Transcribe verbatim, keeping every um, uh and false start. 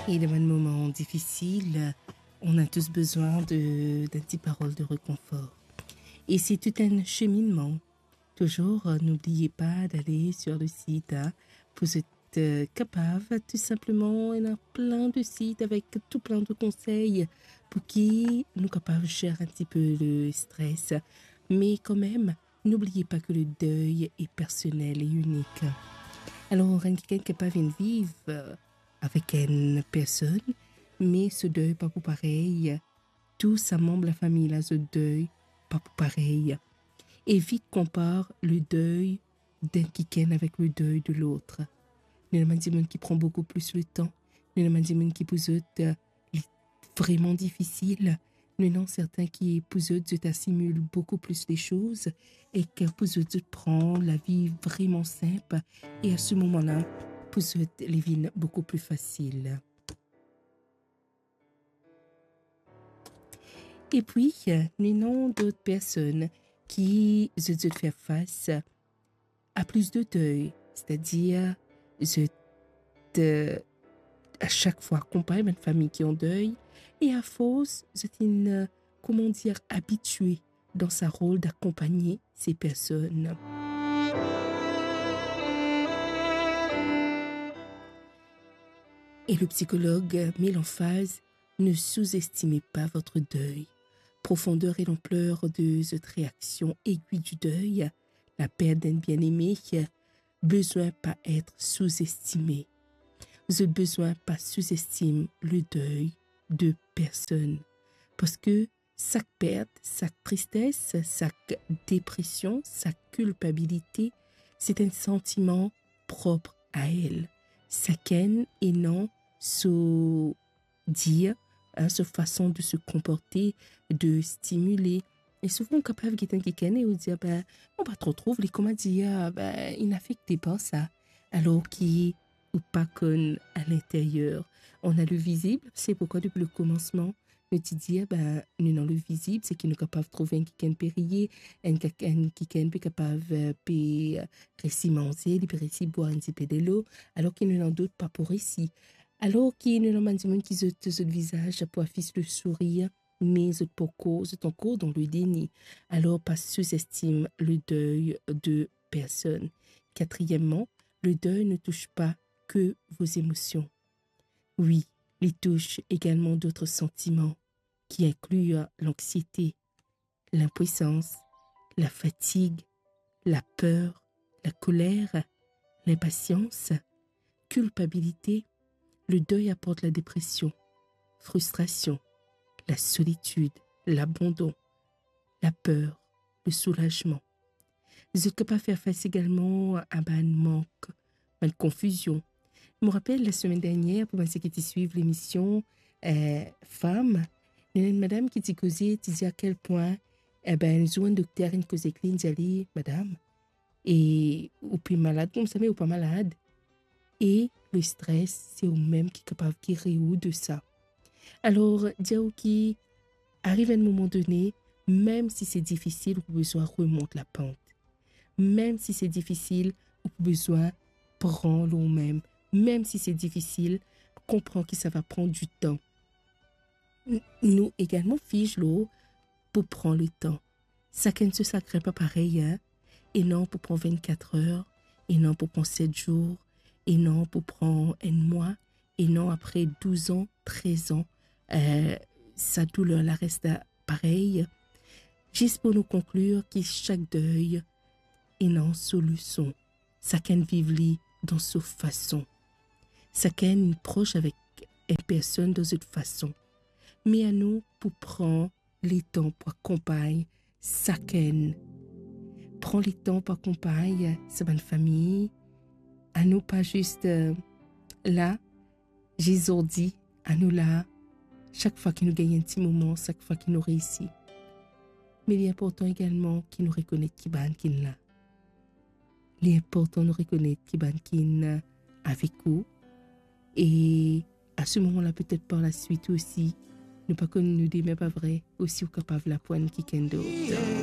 Et dans un moment difficile, on a tous besoin de, d'un petit parole de réconfort. Et c'est tout un cheminement. Toujours, euh, n'oubliez pas d'aller sur le site, hein, pour être, euh, capable, tout simplement, il y a plein de sites avec tout plein de conseils pour qui nous capables gérer un petit peu le stress. Mais quand même, n'oubliez pas que le deuil est personnel et unique. Alors, enn kikenn kapav vinn viv, euh, avek enn personn, me so dey pa pou parey, tou sa manb lafami la, zot dey pa pou parey. Evit konpar le dey d'enn kikenn avek le dey de lot. Nou ena bann dimoun ki pran boukou plis letan. Nou ena bann dimoun ki pou zot, euh, li vreman difisil. Nou ena sertin ki pou zot, zot asimil boukou plis lesoz e ki pou zot, zot pran lavi vreman sinp. E a se moman la, pou zot, li vinn boukou pli fasil. Epi, nou ena dot personn ki zot, zot fer fas a plis de dey, setadir zot, euh, a sak fwa akonpagn bann fami ki an dey, e afors zot inn, euh, kouma dir, abitie dan sa rol d'akompagne se personn. Et le psychologue met l'emphase, ne sous-estimez pas votre deuil. Profondeur et l'ampleur de cette réaction aiguë du deuil, la perte d'un bien-aimé, besoin pas être sous-estimé. Zot bezwin pa souzestim le dey de personn. Parski sak pert, sak tristes, sak depresion, sak kilpabilite, se enn santiman prop a el. Sakenn ena so dir, hein, so fason de se konporte, de stimile. E souvan, ou kapav get enn kikenn e ou dir, "Ben, mo pa tro trouv li, kouma dir, ben, inn afekte par sa." Alor ki ou pa konn a linteryer. On a le vizib, se poukwa depi le komansman, nou ti dir, ben, nou ena le vizib, se ki nou kapav trouv enn kikenn pe riye, enn kik-, enn kikenn pe kapav, eh, pe, eh, resi manze, li pe resi bwar enn tipe delo, alor ki nou ena dot pa pou resi. Alor ki nou ena bann dimoun ki zot, zot vizaz pou afis le sourir, me zot pankor, zot ankor dan le deni. Alor, pa souzestim le dey de personn. Quatrièmement, le deuil ne touche pas que vos émotions. Oui, li tous egalman dot santiman, ki inkli lanksiete, linpwisans, lafatig, laper, lakoler, linpasians, kilpabilite. Le deuil apporte la dépression, frustration, la solitude, l'abandon, laper, lesoulazman. Zot kapav fer fas egalman a bann mank, bann konfizion. Mo rapel, lasemenn dernier, pou bann seki ti swiv lemision, eh, Fam, ena enn madam ki ti koze, ti dir a kel pwin, eh ben, enn zour enn dokter inn koz ek li, inn dir li, "Madam, e ou pe malad koumsa, me ou pa malad." E le stres, se ou mem ki kapav geri ou de sa. Alor, dir ou ki ariv enn moman done, mem si se difisil, ou pou bizin remont lapant. Mem si se difisil, ou pou bizin pran lor ou mem. Mem si se difisil, konpran ki sa va pran ditan. N-, nou egalman fiz lor pou pran letan. Sakenn so sagrin pa parey, hein. Ena pou pran vennkat er, ena pou pran set zour, ena pou pran enn mwa, ena apre douz an, trez an, eh, sa douler la res la parey. Zis pou nou konklir ki sak dey ena so leson. Sakenn viv li dan so fason. Sakenn pros avek enn personn dan zot fason. Me anou pou pran letan pou akonpagn sakenn. Pran letan pou akonpagn sa bann fami. Anou pa zis, eh, la, zis zordi, anou la, sak fwa ki nou gagn enn ti moman, sak fwa ki nou reisi. Me li inportan egalman ki nou rekonet ki bann ki la. Li inportan nou rekonet ki bann ki avek ou. E a se moman la, petet par laswit osi, nou pa konn nou demin, pa vre, osi ou kapav la pou enn kikenn dot.